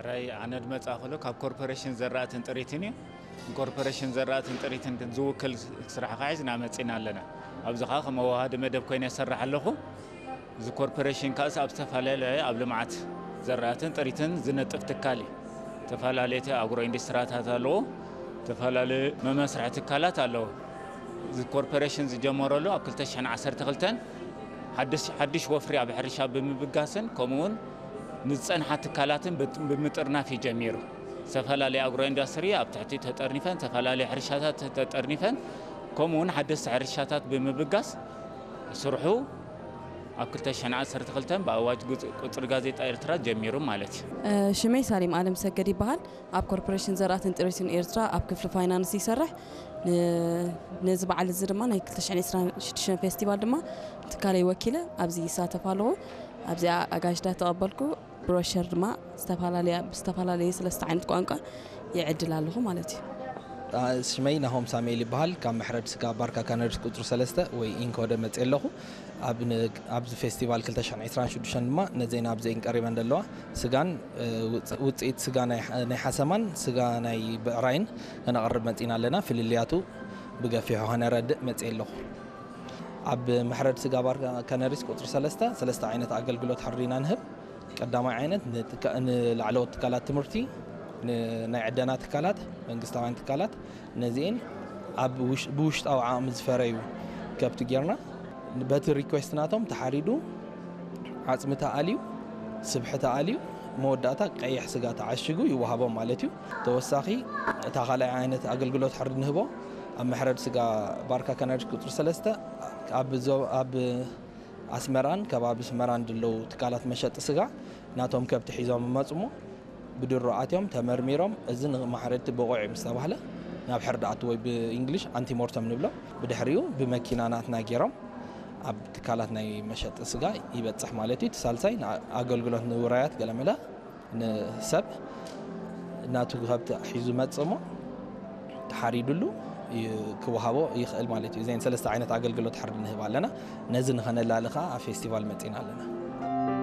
ራይ ኣነ ድመጻ ከሎ ካብ ኮርፖሬሽን ዘራእትን ጥሪትን እዩ። ኮርፖሬሽን ዘራእትን ጥሪትን ዝውክል ስራሕ ከዓ ሒዝና መጺና ኣለና። ኣብዚ ከዓ ከም ኣዋሃዲ መደብ ኮይነ ይሰርሕ ኣለኹ። እዚ ኮርፖሬሽን ከኣስ ኣብ ዝተፈላለየ ኣብ ልምዓት ዘራእትን ጥሪትን ዝነጥፍ ትካል እዩ። ዝተፈላለዩ ኣግሮ ኢንዱስትሪታት ኣለዎ። ዝተፈላለዩ መመስርሒ ትካላት ኣለዎ። እዚ ኮርፖሬሽን ዝጀመረሉ ኣብ ክልተ ሽሕን ዓሰርተ ክልተን ሓድሽ ሓድሽ ወፍሪ ኣብ ሕርሻ ብምብጋስን ከምኡውን ንዝጸንሓ ትካላትን ብት- ብምጥርናፍ እዩ ጀሚሩ። ዝተፈላለዩ ኣግሮ ኢንዱስትሪ ኣብ ትሕቲ ተጠርኒፈን፣ ዝተፈላለዩ ሕርሻታት ተጠርኒፈን፣ ከምኡውን ሓደስቲ ሕርሻታት ብምብጋስ ስርሑ ኣብ ክልተ ሽሕን ዓሰርተ ክልተን ብኣዋጅ ጉጽ- ቁጽሪ ጋዜጣ ኤርትራ ጀሚሩ ማለት እዩ። ሽመይ ሳሊም ኣለም ሰገድ ይበሃል። ኣብ ኮርፖሬሽን ዘራእትን ጥሪትን ኤርትራ ኣብ ክፍሊ ፋይናንስ ይሰርሕ። ን- ነዚ በዓል እዚ ድማ ናይ ክልተ ሽሕን ዕስራን ሽዱሽተን ፌስቲቫል ድማ ትካለይ ወኪለ ኣብዚ ይሳተፍ ኣለኹ። ኣብዚኣ ኣጋይሽዳ ተቐበልኩ። ብሮሸር ድማ ዝተፈላለያ ብዝተፈላለየ ሰለስተ ዓይነት ቋንቋ ይዕድል ኣለኹ ማለት እዩ። ሽመይ ናሆም ሳሙኤል ይበሃል። ካብ መሕረድ ስጋ ባርካ ካነርስ ቁፅሪ ሰለስተ ወይ ኢንኮደ መፅእ ኣለኹ። ኣብ ን- ኣብዚ ፌስቲቫል ክልተ ሽሕን ዕስራን ሽዱሽተን ድማ ነዘን ኣብዘን ቀሪበን ዘለዋ ስጋን ውፅኢት ስጋ ናይ ሓሰማን ስጋ ናይ ብዕራይን ከነቕርብ መፂና ኣለና። ፍልልያቱ ብገፊሑ ከነረድእ መፅእ ኣለኹ። ኣብ መሕረድ ስጋ ባር ከነሪስ ቁፅሪ ሰለስተ ሰለስተ ዓይነት ኣገልግሎት ሕርዲና ንህብ። ቀዳማይ ዓይነት ንላዕለዎት ትካላት ትምህርቲ፣ ናይ ዕደና ትካላት፣ መንግስታውያን ትካላት፣ ነዚኤን ኣብ ብውሽጣዊ ዓቕሚ ዝፈረዩ ከብቲ ጌርና በቲ ሪኩዌስት ናቶም ተሓሪዱ፣ ዓፅሚ ተኣልዩ፣ ስብሒ ተኣልዩ፣ መወዳእታ ቀይሕ ስጋ ተዓሽጉ ይወሃቦም ማለት እዩ። ተወሳኺ እታ ካልኣይ ዓይነት ኣገልግሎት ሕርዲ ንህቦ ኣብ መሕረድ ስጋ ባርካ ከነሪስ ቁፅሪ ሰለስተ ኣብ ኣስመራን ከባቢ ኣስመራን ድለው ትካላት መሸጢ ስጋ ናቶም ከብቲ ሒዞም ይመፁ እሞ ብድሮ ኣትዮም ተመርሚሮም እዚ ንማሕረድቲ ብቑዕ እዩ ምስ ተባህለ ናብ ሕርዲ ኣቱ ወይ ብእንግሊሽ ኣንቲሞርተም ንብሎ። ብድሕሪኡ ብመኪና ናትና ገይሮም ኣብ ትካላት ናይ መሸጢ ስጋ ይበፅሕ ማለት እዩ። እቲ ሳልሳይ ኣገልግሎት ንውራያት ገለመለ ንሰብ ናቱ ከብቲ ሒዙ መፅእ እሞ ተሓሪዱሉ ክወሃቦ ይኽእል ማለት እዩ። እዘን ሰለስተ ዓይነት ኣገልግሎት ሕርዲ ንህብ ኣለና። ነዚ ንኸነላሊ ከዓ ኣብ ፌስቲቫል መፂና ኣለና።